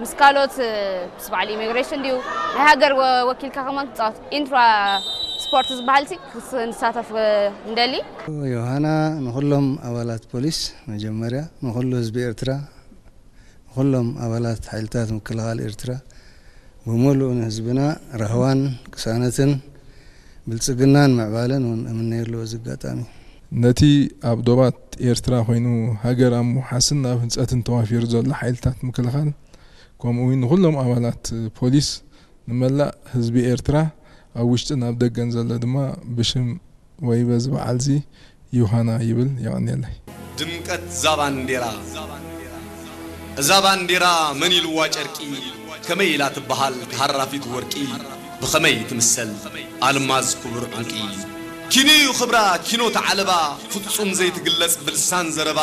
ምስ ካልኦት ምስ በዓል ኢሚግሬሽን ድዩ ናይ ሃገር ወኪልካ ከማን ክፃወት ኢንትራ ስፖርት ዝበሃል ሲ ንሳተፍ እንደሊ። ዮሃና ንኹሎም ኣባላት ፖሊስ መጀመርያ ንኹሉ ህዝቢ ኤርትራ ንኹሎም ኣባላት ሓይልታት ምክልኻል ኤርትራ ብምሉእ ንህዝብና ራህዋን ቅሳነትን ብልጽግናን ምዕባለን እውን እምነየሉ በዚ ኣጋጣሚ። ነቲ ኣብ ዶባት ኤርትራ ኮይኑ ሃገር ኣብ ምውሓስን ኣብ ህንጸትን ተዋፊሩ ዘሎ ሓይልታት ምክልኻል ከምኡ እውን ንኹሎም ኣባላት ፖሊስ ንመላእ ህዝቢ ኤርትራ ኣብ ውሽጥን ኣብ ደገን ዘሎ ድማ ብሽም ወይ በዚ በዓል እዚ ዮሃና ይብል የቐንየለይ። ድምቀት እዛ ባንዴራ እዛ ባንዴራ መን ኢልዋ ጨርቂ ከመይ ኢላ ትበሃል ተሃራፊት ወርቂ ብኸመይ ትምሰል ኣልማዝ ክቡር ዕንቂ ኪኖ እዩ ክብራ ኪኖ ተዓለባ ፍጹም ዘይትግለጽ ብልሳን ዘረባ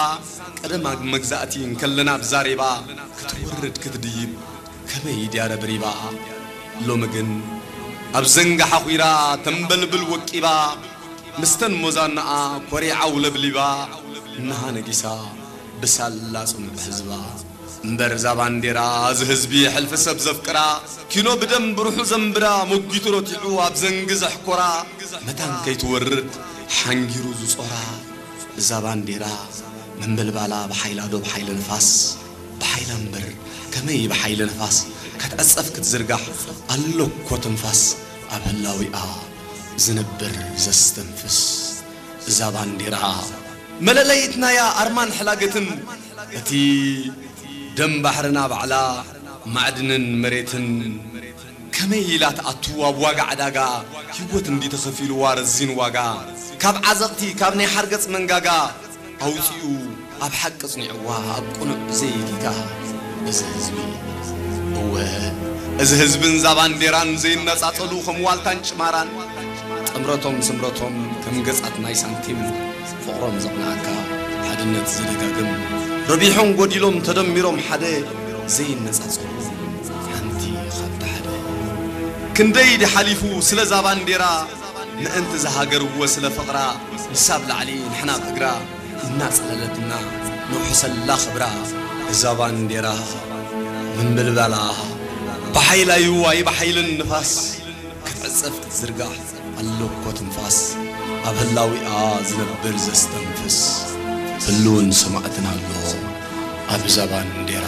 ቀደም ኣብ መግዛእቲ እንከለና ብዛሬባ ክትወርድ ክትድይብ ከመይ ድያ ረብሪባ ሎሚ ግን ኣብ ዘንጋ ሓኺራ ተንበልብል ወቂባ ምስተን ሞዛናኣ ኮሪዓ ውለብሊባ እነሃ ነጊሳ ብሳላ ጽኑዕ ህዝባ እምበር እዛ ባንዴራ እዚ ህዝቢ ሕልፊ ሰብ ዘፍቅራ ኪኖ ብደም ብሩሑ ዘንብራ መጒቱ ረቲዑ ኣብ ዘንጊ ዘሕኮራ መታን ከይትወርድ ሓንጊሩ ዝጾራ እዛ ባንዴራ መንበልባላ ብሓይላ ዶ ብሓይሊ ንፋስ ብሓይላ እምበር ከመይ ብሓይሊ ንፋስ ክትዕጸፍ ክትዝርጋሕ ኣሎ እኮ ትንፋስ ኣብ ህላዊኣ ዝነብር ዘስተንፍስ እዛ ባንዴራ መለለይትናያ ኣርማን ሕላገትን እቲ ደም ባሕርና ባዕላ ማዕድንን መሬትን ከመይ ኢላ ትኣቱ ኣብ ዋጋ ዕዳጋ ህይወት እንዲ ተኸፊልዋ ረዚን ዋጋ ካብ ዓዘቕቲ ካብ ናይ ሓርገጽ መንጋጋ ኣውጺኡ ኣብ ሓቂ ጽኒዕዋ ኣብ ቅኑዕ ዘይጊጋ እዚ ህዝቢ እወ እዚ ህዝብን እዛ ባንዴራን ዘይነጻጸሉ ከም ዋልታን ጭማራን ጥምረቶም ስምረቶም ከም ገጻት ናይ ሳንቲም ፍቕሮም ዘቕንዓካ ሓድነት ዝደጋግም ረቢሖም ጎዲሎም ተደሚሮም ሓደ ዘይነጻጸሉ ሓንቲ ካብቲ ሓደ ክንደይ ድሓሊፉ ስለዛ ባንዴራ ምእንቲ ዝሃገርዎ ስለ ፍቕራ ንሳ ብላዕሊ ንሕና ብእግራ እናጽለለትና ነውሕሰላ ክብራ እዛ ባንዴራ ምንብልባላ ብሓይላ እዩ ኣይ ብሓይልን ንፋስ ክትዕጸፍ ክትዝርጋሕ ኣሎ እኮ ትንፋስ ኣብ ህላዊኣ ዝነብር ዘስተንፍስ ህልውን ሰማዕትን ኣሎ ኣብዛ ባንዴራ